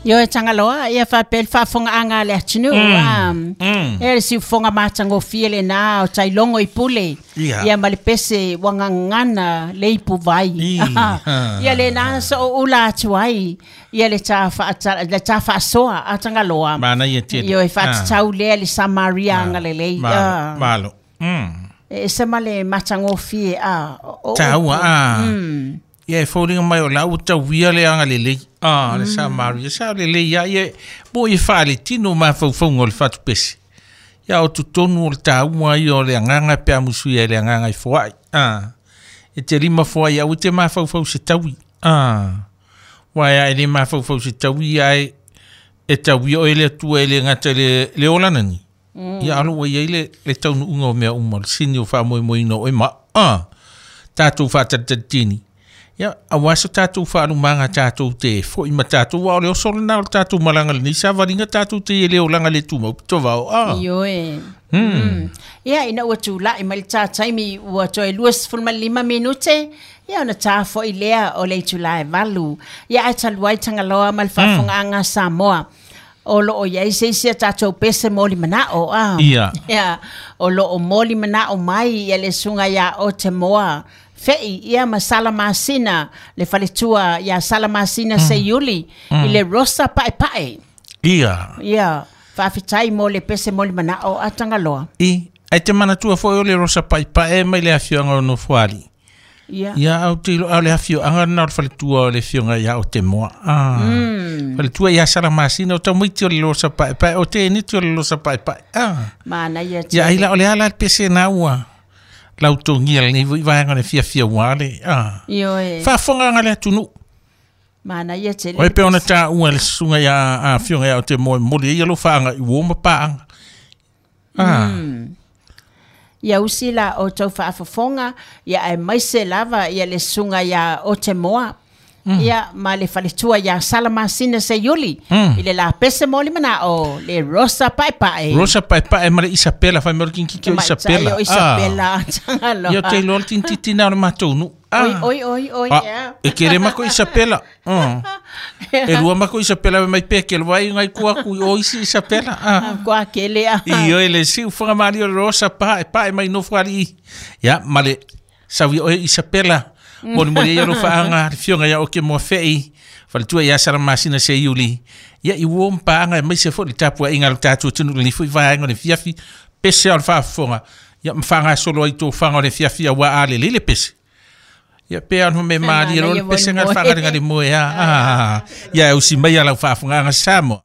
Ioe Tagaloa, ia faapea le faafofogaaga a le atunuu, a. Ia le siufofoga matagofie lena o Tailogo i Pule, Ia. ia ma le pese ua gagana le ipuvai. I, ha. Ia lena sa ou ula atu ai, ia le ta faata, le ta faasoa a Tagaloa. Manaia tele. Ioe, faatatau lea i le Samaria agalelei. Malo, A. malo. E ese ma le matagofie, a. O Taua, upu. a. Ia e foliga mai o la ua tauia le agalelei a le Samaria. Sa lelei ia ia mo i faaletino mafaufauga o le fatupese. Ia o totonu o le taua ia o le agaga pe a musuia i le agaga i foai. A. E te lima foai au e te mafaufau se taui. A. Ua e a e le mafaufau se taui ia e e tauia oe le Atua e le gata i le, le olana ni. Ia alo ua i ai le, le taunuuga o mea uma, le sini o faamoemoeina o oe ma a. Tatou faatalitalitini. Ia, aua so tatou faalumaga tatou te foi ma tatou, aua o le oso lena o le tatou malaga i lenei savaliga tatou te i e le olaga le tumau pito vao. A. Ioe. Ia, ina ua tulai mai le ta taimi ua toe 25 minute, ia ona ta foi lea o le itula e 8. Ia, ae talu ai Tagaloa ma le faafofogaaga a Samoa, o lo o i ai se isi a tatou pese moli manao, a. Ia. Ia, o lo o moli manao mai ia le susuga ia Otemoa Fei, ia ma Sala Masina, le faletua ia Sala Masina Seiuli, i le Rosa Paepae. Ia. Ia, faafetai mo le pese moli manao a Tagaloa. I, ae te manatua foi o le Rosa Paepae mai le afioaga o Nofoalii. Ia. Ia, au te iloa o le afioaga lena o le faletua o le afioga ia Otemoa. Ah. Faletua ia Sala Masina, o tamaiti o le Rosa Paepae, o te eneti o le Rosa Paepae. Ah. Manaia Ia, ai tele. la o le ala le pese na ua lautogia lenei foi vaega o le fiafia ua le. Ah. Ioe. Faafofogaaga le atunuu. Manaia tele Oe le pe ona pese. taua le susuga ia a afioga ia Otemoa e momoli ai ia lou faaga i uo ma paaga. Ah. Ia usi la outou faafofoga, ia aemaise lava ia le susuga ia Otemoa, ia ma le faletua ia Sala Masina Seiuli, i le lapese moli manao, le Rosa Paepae. Rosa Paepae ma le Isapela, fai mai o le tinititi o Tamaitai Isapela. o Isapela, Tagaloa. Ia, ou te iloa le tinititi na o le matou nuu. Oi, Ah. oi, oi, oi, Ah, ia. e kele mako Isapela. E lua mako Isapela mai pe ke vai ngai ku aku i o isi Isapela. Ah. Kua kele, ah. I oi le siu whanga maali o le Rosa Paepae mai Nofoalii. Ia, ma le saui oe Isapela. Moli moli ia lo whaanga, le fionga ia oke moa fei. Faletua ia Sala Masina Seiuli. Ia i uo mpaanga e maise fo le tapua inga le tātua tunu le fui vaenga le fiafi. Pese o le whaafonga. Ia mwhanga solo ai tō whanga o le fiafi a wā a le lele pese. Ia pe anu me maali Manaia lo le pese moe ngā moe. whanga le moe. Ah, ah, ah. Ia e usi mai a lau whaafonga anga Samoa.